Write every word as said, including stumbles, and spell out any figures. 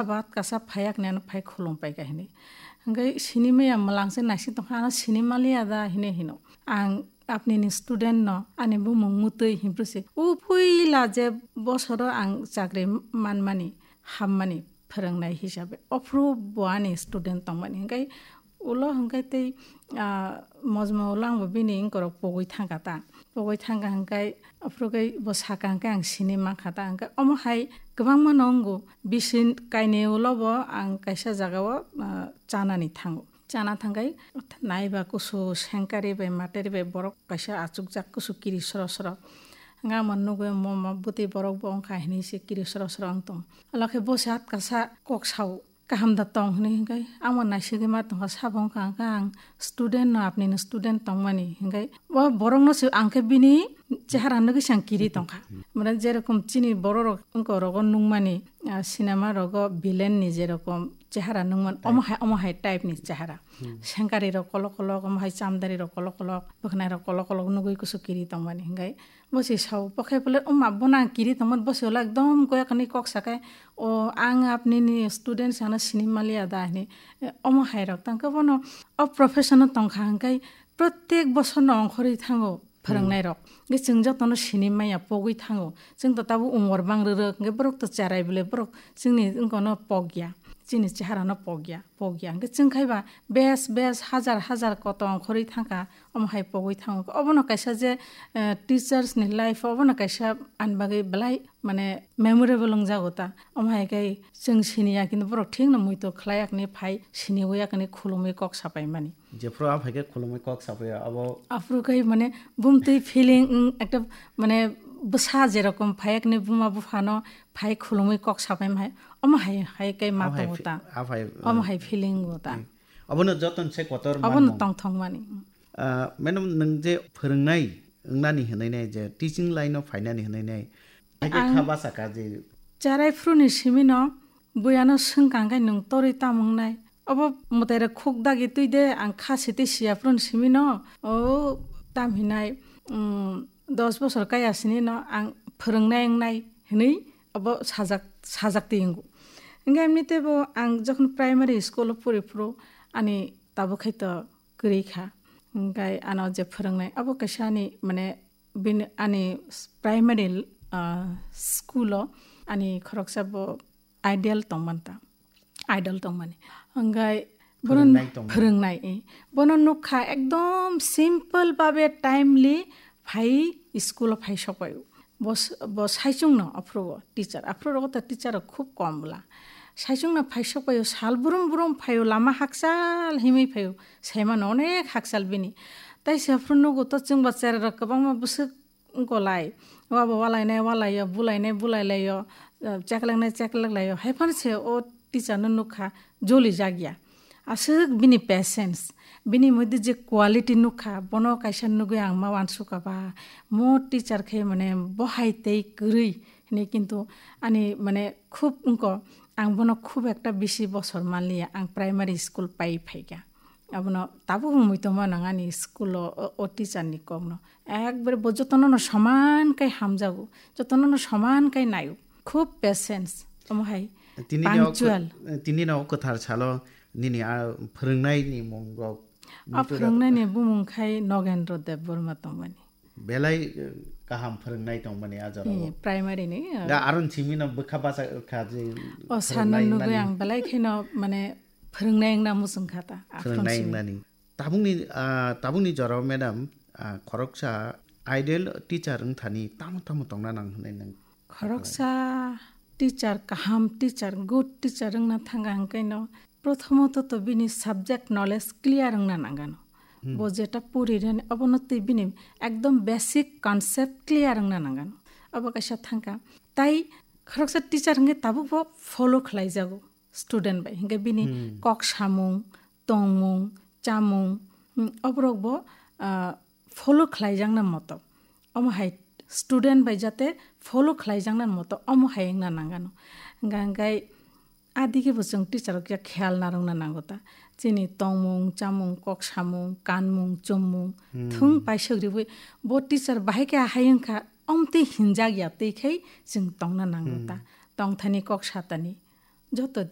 Bat kasa phayak ni ano phai khulum pai ka hini. Hingke sini maya mwlang se naising tongkha, ano sini maliya da hini hino. Ang apni ni student no, ani bumung mutwi himpru se. O puila je bosoro ang chakri manmani, hammani phwrwngnai hisabe. Ophru bo ani student tongmani. Hingke ulo hingke tei, ah, mojmo ulo ang bo bini wngkorok pogwi thangkha ta. Pogwi thangkha hingke, aphuru khe bo saka hingke ang sini mankha ta. Hingke omo hai kwbangma no wngo, bisi kainwi ulo bo ang kaisa jaga o, ah, chanani thango. Chana thangkhe naiba kusu sengkari bai materi bai borok kaisa achukjak kusu kiri soro soro. Hingke omo nugwi mo, mo bwtwi borok bo wngkha hinwi se kiri soro soro wng tong. Alo khe bo se atkasa kok sao. Kaham da tong hinwi hingke, amo naisigwi ma tongkha, sabo wngkha hingke ang student no, apni no student tongmani hingke, o borok no se ang khe bini chehara nugwi se ang kiri tongkha. Mane jerokom chini borok rok wngko rogo nungmani, ah, cinema rogo villain ni jerokom chehara nungman, omo hai, omo hai type ni chehara. Sengkari rok kolok kolok, omo hai chamdari rok kolok kolok, bwkhnai rok kolok kolok nugwi kusu kiri tongmani hingke, bo se sao, bo khe bole, "Oma, bono ang kiri tongmani," bo se ulo ekdom goya kani kok sakai, "O, ang apni ni student, ano sini maliya da," hini. E, omo hai rok tang khe bono o profession o tongkha hingke protek bosor no ongkhorwi thango phwrwngnai rok. Hingke chwng joto no sini maya pogwi thango. Chwng to tabuk umor bang rwrwk, hingke borok to cherai bole borok chwngni wngko no pogya. Chini chehara no pogya, pogya. Hingke chwng khai ba bes, bes, hajar, hajar koto ongkhorwi thangkha. Omo hai pogwi thango. Obono kaisa je, eh, teachers ni life obono kaisa ani bagwi belai mane memorable wngjago ta. Omo hai khe chwng siniya, kintu borok thikno muitu khlai yakni phai siniwi yakni khulumwi kok sapai mani. Jephru a phai khe khulumwi kok sapai abo. Aphuru khe mane bumtwi feeling, mm, ekta mane bwsa jerokom phai yakni buma buphano phai khulumwi kok sapai mai. Omo hai, hai khe ma Abo hai tongo fi-, ta. a phai, Omo eh, hai feeling go ta. eh, Obono joton se kotor Obono manmung. tongthok mani. Ah, madam, nwng je phwrwngnai wngnani hwnwi nai je teaching line o phainani hwnwi nai. Hai khe Ang kha basa ka je. Cherai phuru ni simi no buya no swngkang khe nwng torwi tam wngnai. Obo mwtai rok khuk dagi twi de ang kha sitwi siya phuru ni simi no. O tam hinai, um, dos bosor kaya sini no ang phwrwngnai wngnai hwnwi obo sajak, sajak twi wngo. Hingke amni tebo ang jokhon primary school o puri phuru ani tabuk khai to kwrwi kha. Hingke ano je phwrwngnai abo kaisa ani mane bini ani primary, ah, school o ani khoroksa bo idol tongmani ta, idol tongmani. Hingke bono Phwrwngnai tongmani. phwrwngnai, eh. Bono nukha ekdom simple babe timely phai school o phai sokpaio. Bo s-, bo saichung no aphuru o teacher. Aphuru rogo to teacher rok khub kom bwla. Saichung no phai sokpaio, sal brum brum phaio, lama hakchal himwi phaio. Saimano onek hakchal bini. Tai se aphuru nugo to chwngba cherai rok kwbangma bwswk wngkolai. Wabo walainai walaio, bulainai bulailaio, eh, chekleknai chekleklaio. Haiphano se o teacher no nukha, joli jakya. Aswk bini patience, bini moddhe je quality nukha, bono kaisa nugwi ang ma uansukha ba, mo teacher khe mane bo hai tei kwrwi hinwi, kintu ani mane khub wngko, ang bono khub ekta bisi bosor manliya, ang primary school pai phaikha. Abono tabuk wngwi tongma nang ani school o, o, o teacher ni kokno. Ekbare bo jotono no soman kai hamjago, jotono no soman kai naio. Khub patience, omo hai Tini ni o punctual. Kw-, tini ni o kwthar salo nini a phwrwngnai ni mung rok A muitu rok. Phwrwngnai ni bumung khai Nogendro Debbarma tongmani. Belai, eh, kaham phwrwngnai tongmani a jora Eh, o. Primary ni, eh. Da aron simi no bwkha basa kha je O sana phwrwngnai nugwi nani. Ang belai kheno mane phwrwngnai wngna muchung kha ta, aphuru Phwrwngnai simi. Wngnani. Tabukni, ah, tabukni jorao, madam, ah, khoroksa ideal teacher wng thani tamo tamo tongna nang hwnwi nang Khoroksa teacher, kaham teacher, good teacher wngna thangkha hwnkhe no, prothomoto to bini subject knowledge clear wngna nangano. Hmm. Bo jeta puri rani, obono twi bini ekdom basic concept clear wngna nangano. Obo kaisa thangkha. Tai khoroksa teacher hwnkhe tabuk bo follow khlaijago student bai. Hwnkhe bini Hmm. kok samung, tongmung, chamung, hmm, oborok bo, ah, follow khlaijakna moto. Omo hai student bai jate follow khlaijakna moto, omo hai wngna nangano. Hwnkha hwnkhe adige bo chwng teacher rok ya kheyal narwkna nango ta. Chini tongmung, chamung, kok samung, kanmung, chummung, Hmm. thung paisok riwi bo teacher bahai khe ahai wngkha, omtwi hinjak ya twi khai chwng tongna nango ta. Hmm. Tongthani kok satani. joto